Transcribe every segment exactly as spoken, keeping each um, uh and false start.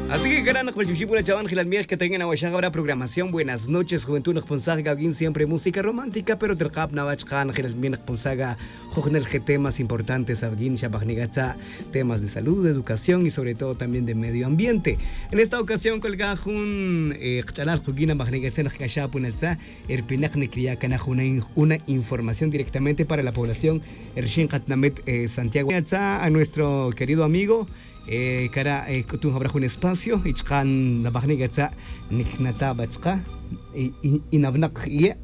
Así que cara' nokbal chibxi' puna chawan jilal miej que tengan awaxan abra programación buenas noches juventud nokbonsaj gawin siempre música romántica pero terkab nawa' chakan jilal miej nokbonsaj ga jojnel je temas importantes awin xabajni gatza temas de salud de educación y sobre todo también de medio ambiente. En esta ocasión colga jun kch'alal kuguin abajni gatza nokc'axa puna tza erpinak nikriya' cana jun una información directamente para la población erxin katinamit santiago gatza a nuestro querido amigo. Cara' c'utun jawra jun espacio y chaka' nabajni' catza' nicnata' ba chaka'. Y nabnak' iye'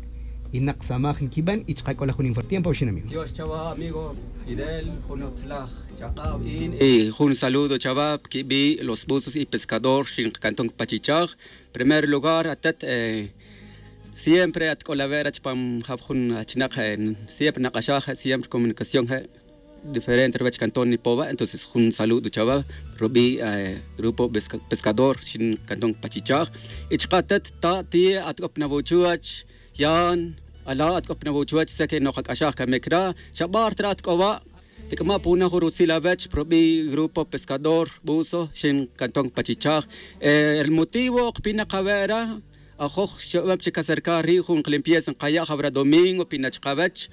y nak samaj nquiban y chaka' c'o la jun informe tiempo awxin amigo. Dios chawa amigo fidel jun utzlaj chak'ab in y jun saludo chawa quibi' los buzos y pescador xin kacanton pachichaj. Primer lugar atet siempre at c'o la wera chupam jab jun achinak siempre nak'axaj je' siempre comunicación je' diferente ruwech canton nipowa entonces jun saludo chawa rubi' grupo pescador xin canton pachichaj. Y chaka' atet ta' ti' at c'o pinawochuwech yan ala' at c'o pinawochuwech seke nokac'axaj camic ra' xabar tra at c'o wa' tic'ama' puna jun rutzil awech rubi' grupo pescador buso xin canton pachichaj. El motivo ok pinak awe' ra' ajoj xobem chic acercar ri' jun kalimpieza nkaya' jawra domingo pina chkawech.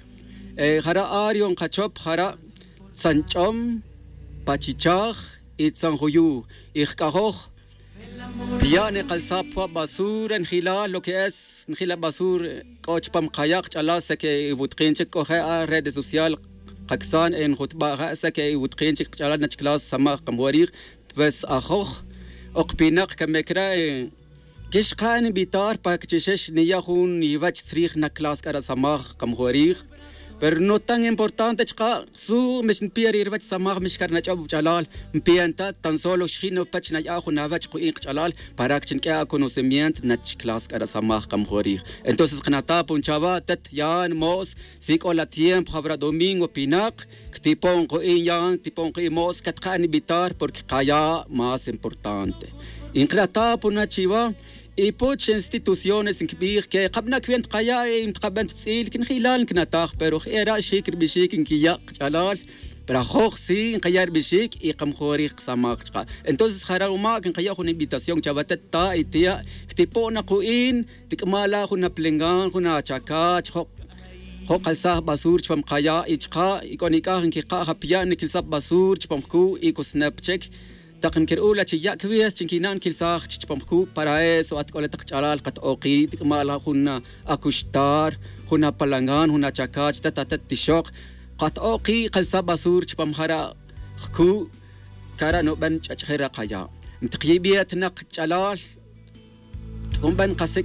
Jara' ario nkachop jara' tzanch'om pachichaj y tzanjuyu. Y jk'ajoj piya' nikalsaj pwa basura njilal lo que es njila basura c'o chupam kaya' kch'alal seke iwutkin chic c'o je' a redes social kaksan enjutba' je' seke iwutkin chic kch'alal nachclas samaj kamjorij. Pues ajoj ok pinak camic re' quixka' ninvitar pa que chixex niya' jun iwech tzrij na clase c'ara' samaj kamjorij. Pero no tan importante chaka' su' mix npiya' ri ruwech samaj mix carinach'ob ch'alal npiya' nta' tan solo xjin nupech naya' jun awech ku'in kach'alal para que chi niq'ue' aconocimiento nach clase c'ara' samaj kamjorij. Entonces kanata' pun chawa' tet yan mo's si c'o la tiempo jawra domingo pinak ctipon ku'in yan ctipon ku'in mo's catka'n invitar porque kaya' más importante. Y nkrata' puna chiwa y puch instituciones nkbij que kabnak wi ntkaya' y ntkaben tz'il quinjilal nknataj pero je' ra' xic ribixic nquiya' kach'alal. Pero ajoj si nkaya' ribixic y kamjorij kasamaj chaka'. Entonces jara' umac nkaya' jun invitación chawa tet ta' y tiya' ctipon na ku'in tic'ama' la jun apelengan jun achacach jo' kalsaj basur chupam kaya' y chaka' y c'o nic'aj nquika'j apiya' niquilsaj basur chupam jcu' y cosnep chic. Tak nquir'u' la chi ya' cwies chi nquina' niquilsaj chupam jcu' para eso at c'o la tak ch'alal kat'oki' tic'ama' la jun acuxtar jun apalangan jun achacach tet atet tixok kat'oki' kalsaj basur chupam jara' jcu'. Cara' nuben ch'ach'jir ra kaya' ntikyibiet nak ch'alal. C'o nben kasi